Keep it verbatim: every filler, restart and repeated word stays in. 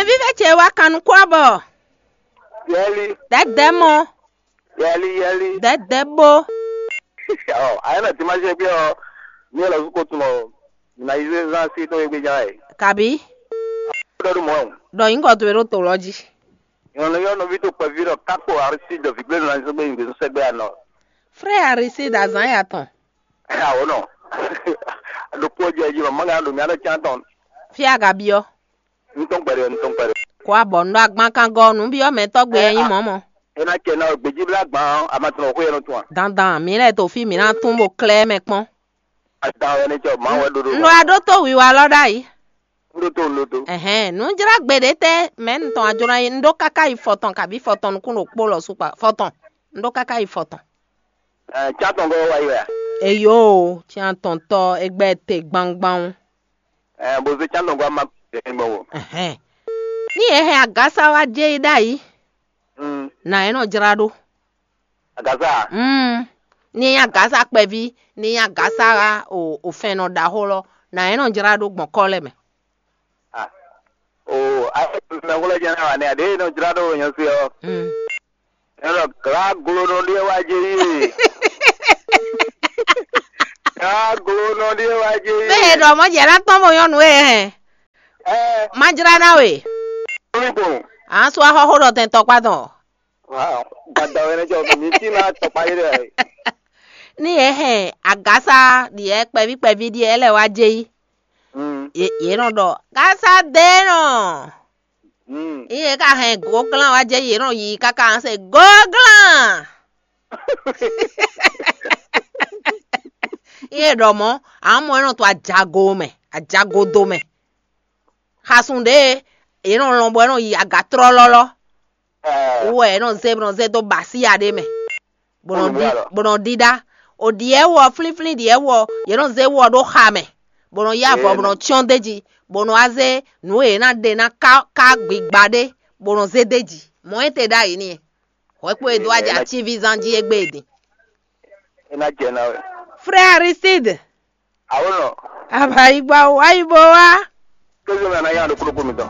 Vívɛ ce wá kan nukún abɔ. Yɛli, Dɛdɛ mɔ. Yɛli, yɛli. Dɛdɛ bo. Ɔ, ayé na ti ma ṣe gbé ɔ, ní ɛ lɔ zú ko tún ɔ, na yi zé zan sí tó yé gbé já ɛ. Kabi. Dɔ do mɔ. Dɔ yín kɔ to ero to lɔ jí. Yɔn yɔ nɔvi tó kpɛví dɔ kákó arisi dɔ vigbé na zó gbé yìí sɛgbɛ anɔ. Frère Aristide azan ya tɔn. Ɛ awɔ nɔ. Ɖokpó jɛ jí ma manga ɖo mía ɖe can tɔn. Fia gabiɔ. Ntɔn kpɛɖe, ntɔn kpɛɖe. Kó abɔ nɔ agban kan gɔ nǔ byɔ́ mɛ tɔgbe ɛ nyí mɔ̌ mɔ. Ena kɛ na gbedzi bla gban amatɔn xwe yɛ nɔ tún a. Dandan mi lɛ to fi mi na tún bo klɛ mɛ kpɔn. Adan wɛ ne cɔ ma wɛ ɖoɖo. Nɔ aɖó tó wiwa lɔ ɖ'ayǐ. Ndo to, ndo to. Ɛhɛn, nǔ jlá gbe ɖé tɛ mɛ ntɔn ajlɔ yi un ɖó káká yi fɔtɔn kabi fɔtɔn nukún ɖo kpó lɔ sukpa fɔtɔn. Un ɖó káká yi fɔtɔn. Ɛ, tsatɔn gɔ wa yi wɛ. Eyo, tiantɔntɔ egbɛ te gbangban. Ɛ, bozo tsatɔn gɔ ma gbɔn wo. Ɛhɛn. Ní yě hɛn agasa wá jɛ yi ɖ'ayǐ, Mm. Nà é nɔ jlá ɖó. Agasa. Mm. Ní é nyí agasa kpɛví, ní é nyí agasa o, o fɛn nɔ ɖaxó lɔ, nà é nɔ jlá ɖó gbɔn kɔ́ lɛ́ mɛ. Ah. O, a mɛ xó lɛ jɛ na wa ne ade nɔ jlá ɖó nyɔ se ɔ. Mm. Ɛnɔ gra glo nɔ ɖe wa je yi. Gra glo nɔ ɖe wa je yi. Bẹ́ẹ̀ dọ̀ mọ́ jẹ́ látọ́ mọ́ yọnu ẹ̀ hẹ́n. Ɛ. Má jlá ná we. Omi gbɔn. À ń sọ ahọ́hó ɖɔ tɛn tɔkpá tɔn. Wow. Gbada wɛ ne jɔ mi ti na tɔkpá yi dɛ. Ní yě hɛn agásá ɖiɛ kpɛví kpɛví ɖiɛ lɛ wá jɛ yí. Mm. Yě yě nɔ ɖɔ gásá dé nɔ. Mm. Yě ka hɛn gǒglán wá jɛ yě nɔ yi káká se gǒglán. Yě ɖɔ mɔ̌, à ń mɔ ɛ nɔ to ajago mɛ, ajagodo mɛ. Xasun ɖě yě nɔ lɔn bɔ é nɔ yi agatrɔ́lɔ́lɔ́. Ɛ. Wú wɛ yě nɔ zé bó nɔ zé dó basíya ɖé mɛ, bó nɔ ɖi bó nɔ ɖiɖá. O ɖiɛ wɔ flínflín ɖiɛ wɔ, yě nɔ zé wɔ ɖó xa mɛ, bó nɔ yá avɔ bó nɔ cyɔ́n d'é jí, bó nɔ wá zé nǔ e yě ná ɖe ná ká ká gbigba ɖé, bó nɔ zé d'é jí. Mɔ̌ é te ɖ'ayǐ n'i. Hwɛ̌kpo e dó wá jɛ atíví zán jí égbé e din. É ná jɛ ná wɛ. Frère Aristide. Awo nɔ. Abayi gba o, ayi bo wa. Kézé mɛ na yá ɖo kúlókú mi tɔn.